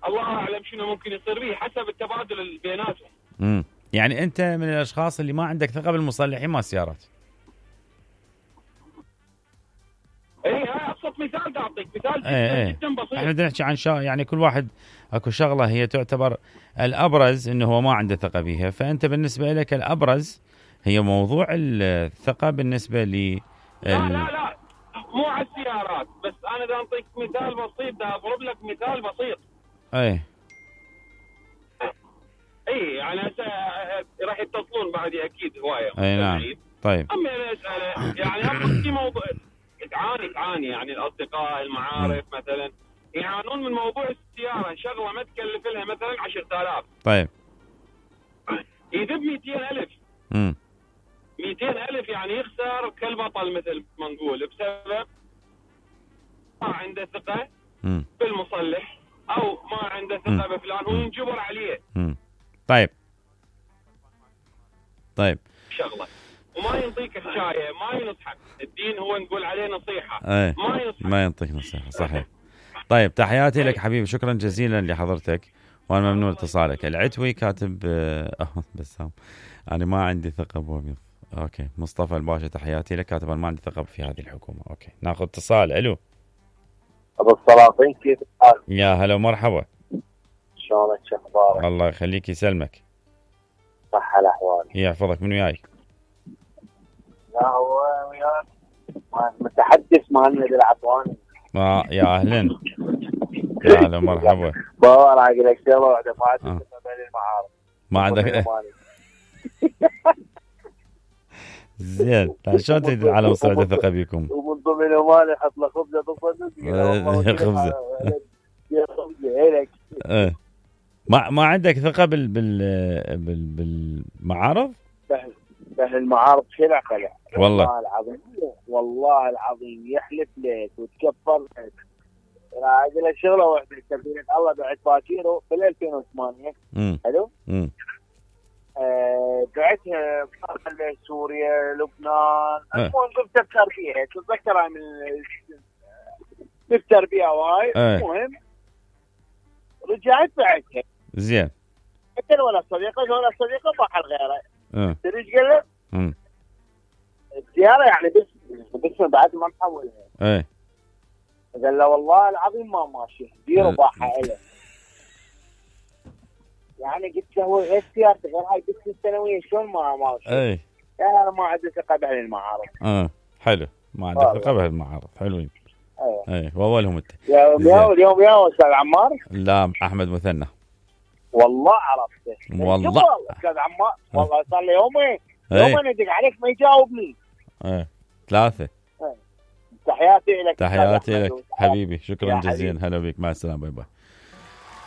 الله اعلم شنو ممكن يصير به حسب التبادل اللي بيناتهم. يعني انت من الاشخاص اللي ما عندك ثقه بالمصلحين مال السيارات. اي ابسط مثال دا اعطيك مثال جدا بسيط. احنا بدنا نحكي عن يعني كل واحد اكو شغله هي تعتبر الابرز انه هو ما عنده ثقه بيها، فانت بالنسبه لك الابرز هي موضوع الثقه بالنسبه ل لا مو على السيارات بس، انا بدي اعطيك مثال بسيط، بدي اضرب لك مثال بسيط. اي يعني راح يتصلون بعدي اكيد هوايه. اي نعم. طيب امي انا اساله يعني في موضوع تعاني يعني الاصدقاء المعارف مثلا يعانون من موضوع السياره، شغله ما تكلف لها مثلا 10,000. طيب يذب 200,000. 200,000 يعني يخسر كالبطل مثل ما نقول، بسبب ما عنده ثقه بالمصلح او ما عنده ثقه بفلان وينجبر عليه. طيب شغله وما ينطيك حكايه، ما ينصحك. الدين هو نقول عليه نصيحه. ما ينطيك نصيحه. صحيح. طيب تحياتي لك حبيبي، شكرا جزيلا لحضرتك وانا ممنون اتصالك. العتوي كاتب بسام انا ما عندي ثقه بوظيفه. اوكي. مصطفى الباشا تحياتي لك، كاتب انا ما عندي ثقه في هذه الحكومه. اوكي ناخذ اتصال. الو ابو السلاطين كيف الحال؟ يا هلا ومرحبا. شلونك شو اخبارك؟ الله يخليك يسلمك. صحة الاحوال. يحفظك. من وياي؟ لا هو وياك متحدث مالنا العطواني. يا اهلا. يا هلا ومرحبا. بابا راح اقول لك شغله واحده، ما عندك ثقه بالمعارض. ما عندك زين. شلون تريد العالم يصير عنده ثقه بيكم؟ ومن ضمن مالي حط له خبزه خبزه ما عندك ثقه بالمعارض؟ المعارض خلع والله العظيم. والله العظيم يحلف لك وتكفر لك. راح اقول لك شغله واحده، كفيله الله بعت باكيرو بال 2008. حلو. بعتها سوريا لبنان. المهم قلت افكر فيها، تتذكرها من نفتر بيها وهاي. المهم رجعت بعتها. زين. حتى ولا صديقه بحر غيره. تدري ايش قال له؟ السياره يعني بس بعد ما نحولها. قال له والله العظيم ما ماشي، ديروا باحه له. يعني قلت له غير سيارتك غير هاي بس السنويه شلون ما ماشي؟ انا ما عندي ثقه بهالمعارض. حلو. ما عندك ثقه بهالمعارض. حلوين. واولهم انت. اليوم يا استاذ عمار؟ لا احمد مثنى. والله عرفته. والله استاذ عمار والله صار لي يومين ادق عليك ما يجاوبني. 3. تحياتي لك. تحياتي لك حبيبي، شكرا جزيلا. هلا بك، مع السلامه. باي باي.